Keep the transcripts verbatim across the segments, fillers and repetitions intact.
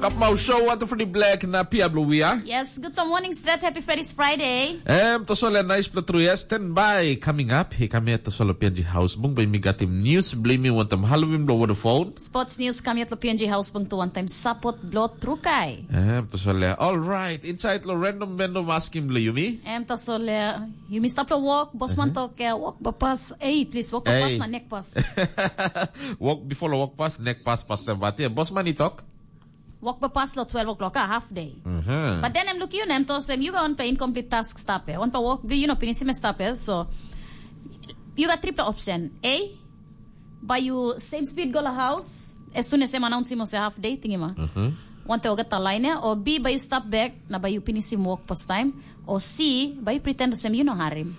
Kapmau show atu for the black na pia blue we are. Yes, good morning, straight happy Freddy's Friday. Em to sole nice pla tru yes, stand by coming up. He come here to solo P N G house bung by me got him news blame me want them Halloween blow over the phone. Sports news kami at lo P N G House bung to one time support blo trukai. Em to sole all right. Inside lo random random asking blo yumi. Em to sole you must stop lo walk. Boss man talk uh, walk ba pass. Hey, please walk ba pass Hey. na neck pass. Walk before lo walk pass, neck pass pass them but yeah, boss man he talk. Walk ba pass lo twelve o'clock, ah, half day. Mhm. But then I'm looking you nem to sem you got one pa incomplete task stop eh. One pa walk bli you know pinisim stop eh. So you got triple option. A, by you same speed go la house as soon as em announce him say half day thing ma. Mhm. One te ogat ta line eh, or B by you stop back na by you pinisim walk pas time, or C by you pretend to sem you know harim.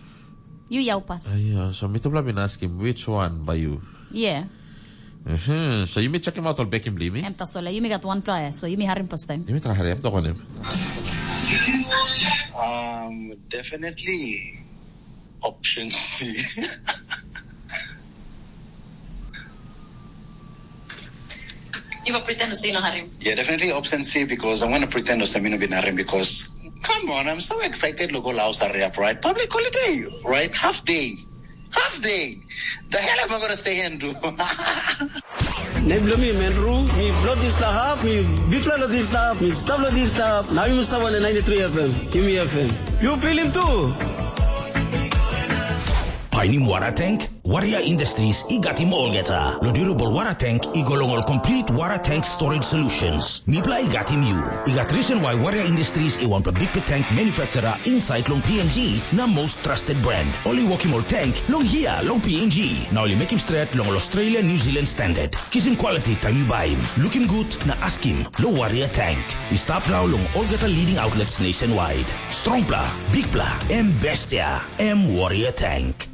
You yau pas. Ayo, so mitupela bin askim which one by you. Yeah. Mhm. So you may check him out or back him bli me. Em tasole, you may got one player, so you may harim pas time. You may try hurry up talk on him. Um, definitely option C. You will pretend to say no harim. Yeah, definitely option C because I'm going to pretend to say no bin harim because come on, I'm so excited to go Laos area, right? Public holiday, right? Half day. Half day. The hell am I going to stay here and do? Nem bilong mi Menru, mi Blot Isla Hap, mi Bipla Blot Isla Hap, mi Stabla Isla Hap. Now you must have on the ninety-three F M. Yumi F M. You feel him too? Painim wara tank? Warrior Industries i gatim olgeta. Lo durable wara tank i go long ol complete wara tank storage solutions. Mipla i gatim you. I gat reason why Warrior Industries i want a big tank manufacturer inside long P N G na most trusted brand. Oli workim ol tank long here long P N G. Na oli making straight long Australia New Zealand standard. Kisim quality time you buy him. Looking good na askim lo Warrior Tank. I stap now long olgeta leading outlets nationwide. Strongpla, bigpla, em bestia, em Warrior Tank.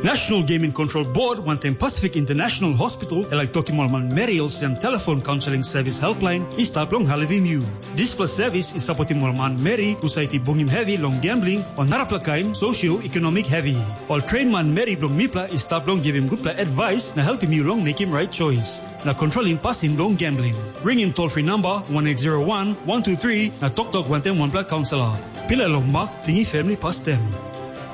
National Gaming Control Board wantaim Pacific International Hospital e laik tokim ol manmeri olsem telefon kaunseling sevis helpline i stap long helpim yu. Dispela sevis i sapotim ol manmeri husat i bungim hevi long gambling o narapela kain sosioekonomik hevi. Ol tren manmeri bilong mipela i stap long givim gutpela advais na helpim yu long mekim rait choice na kontrolim pasin bilong gambling. Ringim tolfri namba one eight zero one one two three na toktok wantaim wanpela kaunselor. Pila long mak tingi famili pastem.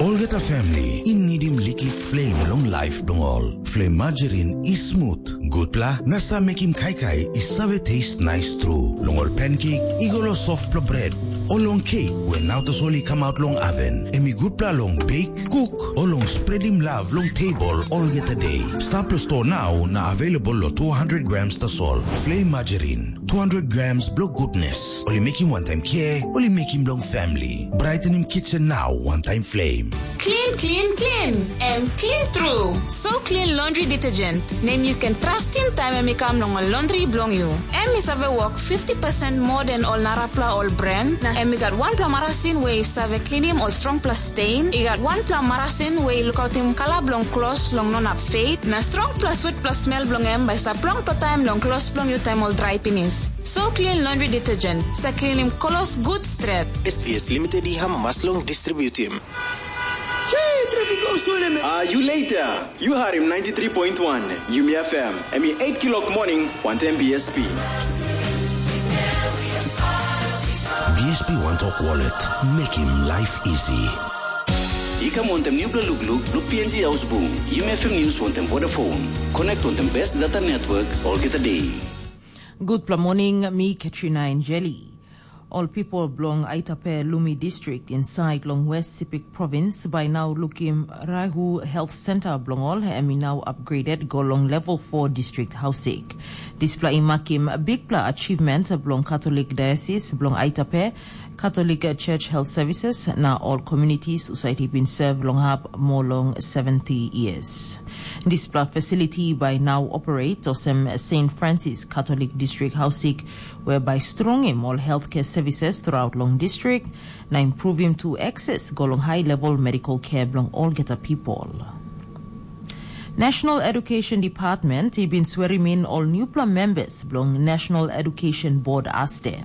Olgeta famili i nidim liklik flem long laip bilong ol. Flem majerin i smut, gutpela na sa mekim kaikai i save tes nais tru. Long ol pankek i go long sofpela bret, o long kek we nau tasol i kamaut long aven, em i gutpela long bek, kuk, o long spredim lav long tebol olgeta de. Stap long sto nau na available long two hundred grams tasol. Flem majerin, two hundred grams bilong gutnes. Ol i mekim wantaim kea, ol i mekim bilong famili. Brightening kitchen now wantaim flame. Clean, clean, clean, and clean through. So clean laundry detergent. Nem you can trust in time em i kam long ol laundry bilong you. Em i save work fifty percent more than ol narapla ol brand. Na em i gat wanpela marasin we i save cleanim ol strongpela stain. I gat wanpela marasin we i lukautim kala bilong klos long no nap fade. Na strongpela sweetpela smell bilong em bai stap longpela taim long klos bilong you taim ol drai pinis. So clean laundry detergent. Sa cleanim klos good stret. S V S Limited i amamas long distributim. Hey, traffic go swell me. Are you later? You harim ninety-three point one Yumi F M. Em i eight kilok morning, one ten B S P. B S P One Talk Wallet. Make him life easy. I kam wantem nupela lukluk blo P N G Ausbung, Yumi F M News wantem Vodafone. Connect wantem best data network olgeta day. Gutpela morning, mi Katrina Enjeli. Ol pipol bilong Aitape Lumi District insait long West Sepik Provins bai nau lukim Rahu Health Center bilong ol em i nau upgraded go long level four district hausik. Dispela i makim bikpela achievement bilong Katolik Diocese bilong Aitape, Katolik Church Health Services na ol communities husat i bin serve long hap moa long seventy years. Dispela facility bai nau operate olsem Saint Francis Catholic District Hausik, whereby strongim ol healthcare services throughout long district, na improvim tu access go long high level medical care bilong olgeta people. National Education Department i bin swerim in ol newpela members bilong National Education Board aste.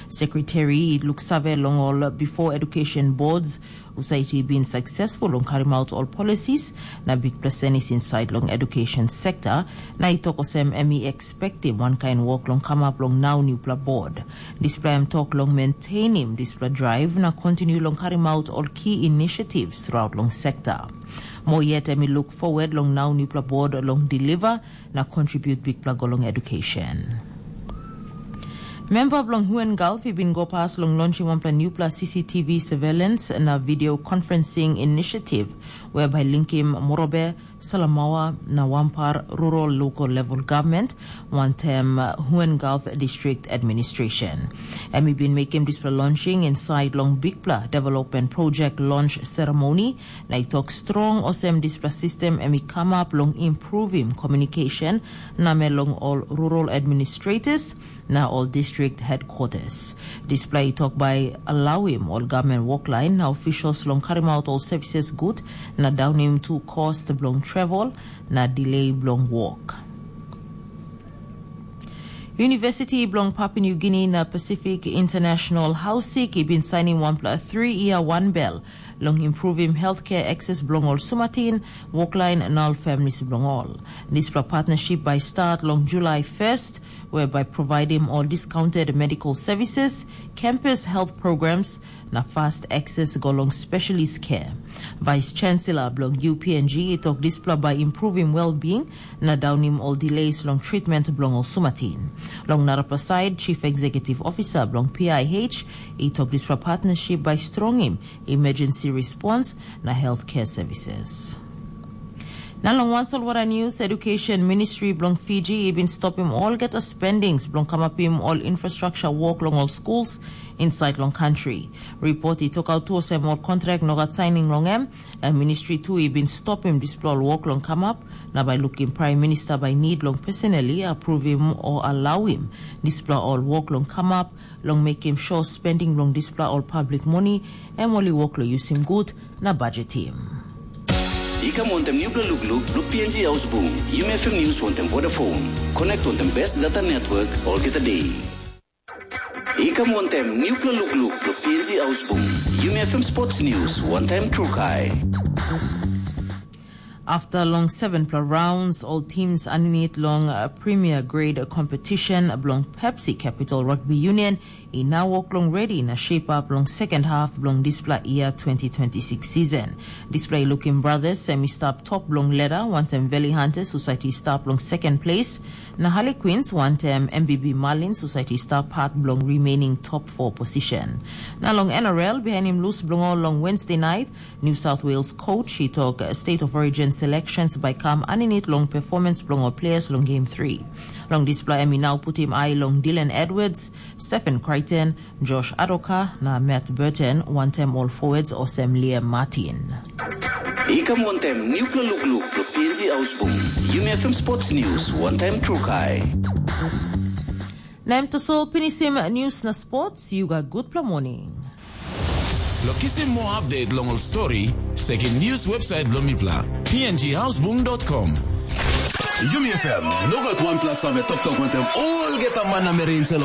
Sekretari i luksave long ol bipo edukasyon bods, husat i bin saksesful long karim aut ol policies na bikpela senis insait long edukasyon sekta, na i tok olsem em i ekspektim wankain wok long kamap long nau nupela bod. Dispela em tok long menteinim dispela drive na kontinu long karim aut ol ki inisiativ throughout long sekta. Mo yet em i luk forward long nau nupela bod long deliver na contribute bikpela go long education. Memba bilong Huen Gulf i bin go pas long launchim wanpela nupela C C T V surveillance na video conferencing initiative, whereby linkim Morobe, Salamaua na Wampar Rural Local Level Government, wantaim Huen Gulf District Administration. Em i bin mekim dispela launching inside long bikpela development project launch ceremony, na i tok strong olsem dispela system em i kamap long improvim communication na me long ol rural administrators na ol district headquarters. Dispela i tok bai alauim ol government workline na officials long karim out ol services gut na daunim tu cost bilong travel na delay bilong work. University bilong Papua New Guinea na Pacific International Hausik i bin sainim wanpela three-year one bel long improvim healthcare access bilong ol sumatin, workline na ol families bilong ol. Dispela partnership bai start long July first, whereby providing all discounted medical services, campus health programs, na fast access go long specialist care. Vice Chancellor bilong U P N G i tok dispela bai improvim well-being na daunim ol delays long treatment bilong ol sumatin. Long narapela side, Chief Executive Officer bilong P I H i tok dispela partnership bai strongim emergency response na healthcare services. Na long wan solwara news, Education Ministry bilong Fiji i bin stopim olgeta spendings bilong kamapim ol infrastructure work long ol schools inside long country. Report i tokaut tu olsem ol kontrak no gat saining long em, na ministri tu i bin stopim dispela ol wok long kamap, na bai lukim Prime Minister bai nid long personally approvim o alauim dispela ol wok long kamap, long mekim sure spending bilong dispela ol public moni em ol i wok long yusim gut na budgetim. I kam wantem nupela lukluk bilong P N G Ausbung, Yumi F M News wantem Vodafone. Connect wantem best data network olgeta day. I kam wantem nupela lukluk bilong P N G Ausbung, Yumi F M Sports News wantem Trukai. After long sevenpela rounds, ol teams aninit long uh, Premier Grade competition bilong Pepsi Capital Rugby Union i now wok long ready na shape up long second half bilong dispela year twenty twenty-six season. Dispela i lukim Brothers em i stap top bilong ladder, wantaim Valley Hunters husat i stap long second place, na Harlequins wantaim M B B Marlins husat i stap part bilong remaining top four position. Na long N R L, bihainim lus bilong ol long Wednesday night, New South Wales coach i tok uh, State of Origin selections bai kam aninit long performance bilong ol players long Game three. Long dispela em i nau putim ai long Dylan Edwards, Stephen Crichton, Josh Adoka na Matt Burton, wantaim ol forwards olsem Liam Martin. I kam wantem nupela lukluk bilong P N G Ausbung, Yumi F M Sports News wantem Trukai. Na em tasol pinisim news na sports, you got good pla morning. Lo kisim moa update long ol stori, sekim news website bilong mipela, P N G Houseboom dot com. Yumi F M, no gat wanpela save toktok wantem olgeta man na meri insel